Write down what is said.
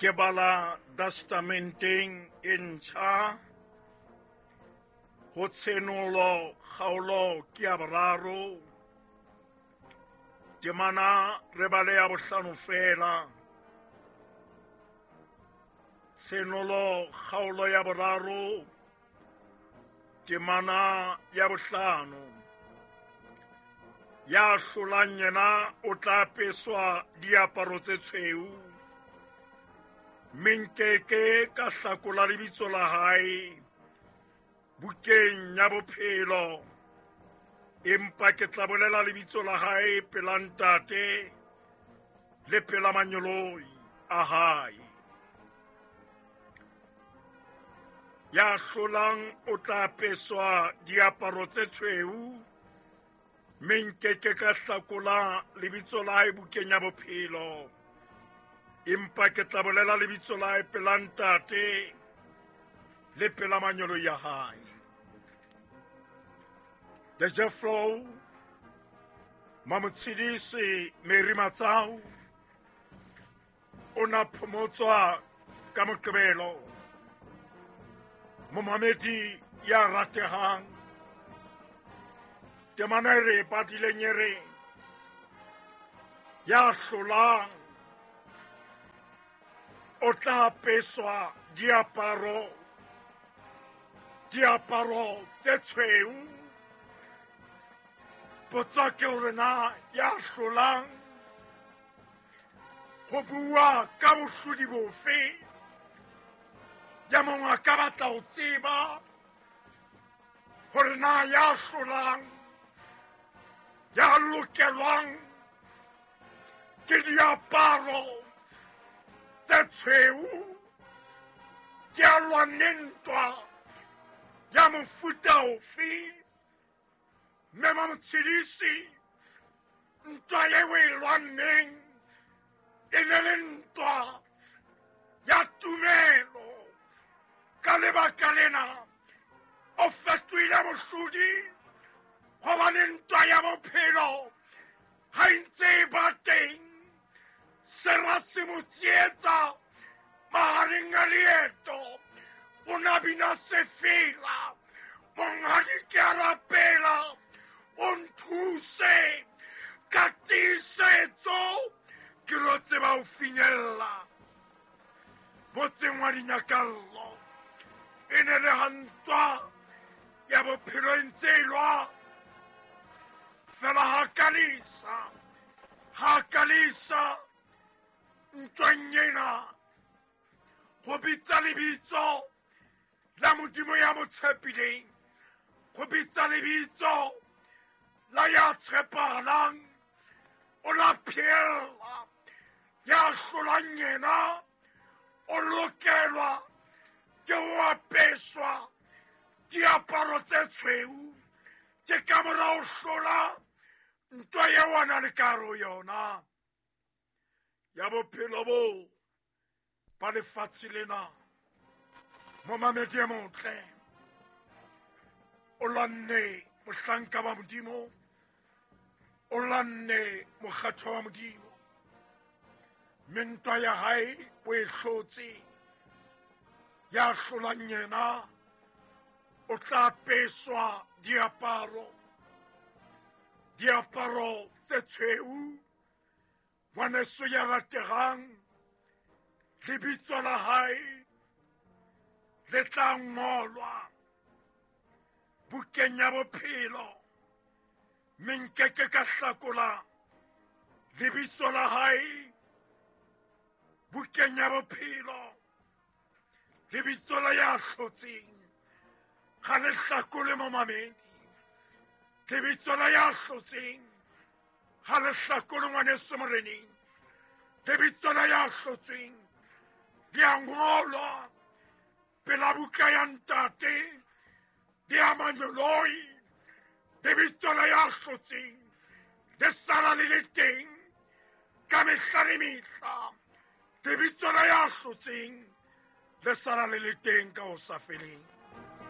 Ke bala testamenteng e ntjha ho Tshenolo kgaolo ke ya boraro, temana re bale ya bohlano fela. Tshenolo kgaolo ya boraro, temana ya bohlano. Ya hlolang yena o tla apeswa diaparo tse tshweu, mme nkeke ka hlakola lebitso la hae bukeng ya bophelo, empa ke tla bolela lebitso la hae pela Ntate le pela manyoloi a hae. Ya hlolang o tla apeswa diaparo tse tshweu, mme nkeke ka hlakola lebitso la hae bukeng ya bophelo, empa ke tla bolela lebitso la hae pela Ntate le pela manyolo ya hae. The Jeffro Mamotshidisi Mary Matsau o na phomotswa ka Moqebelo. Momamedi ya ratehang, temana e re badileng e re ya hlolang o tla apeswa diaparo tse tshweu. Potso ke hore na ya hlolang ho bua ka bohlodi bofe? Ya mongwe a ka batla ho tseba hore na ya hlolang, ya lokelwang ke diaparo tse tshweu, ke a lwanne ntwa ya mofuta ofe? Mme Mamotshidisi, ntwa eo e lwanneng e ne le ntwa ya tumelo. Ka lebaka lena o fetohile mohlodi, gobane ntwa ya bophelo ga e ntse e ba teng, sera se mo tsietsa mahareng a leeto. O na bina sefela, monghadi ke a rapela, o nthuse ka tiisetso ke lo tseba ho finyella motseng wa dinyakallo. E ne le ha ntwa ya bophelo e ntse e lwa fela, ha kalisa ntweng ena go bitsa lebitso la Modimo ya mo tshepileng, go bitsa lebitso la ya tshepahalang, o la phela. Ya hlolang yena o lokelwa ke ho apeswa diaparo tse tshweu. Ke ka mora ho hlola ntwa eo a na le karo yona ya bophelo bo ba lefatshe lena. Momamedi e motle, o lwanne mohlanka wa Modimo, o lwanne mokgatho wa Modimo, mme ntwa ya hae o e hlotse. Ya hlolang yena o tla apeswa diaparo tse tshweu. Ngwaneso ya rategang, lebitso la hae le tla ngolwa bukeng ya bophelo, mme nkeke ka hlakola lebitso la hae bukeng ya bophelo. Lebitso la ya hlotseng ga le hlakole, momamedi. Lebitso la ya hlotseng ga le hlakole, ngwaneso moreneng. Lebitso la ya hlotsweng di a ngolwa pela buka ya Ntate di a manyoloi. Lebitso la ya hlotseng le sala le le teng ka mehla le mehla. Lebitso la ya hlotseng le sala le le teng ka ho sa feleng.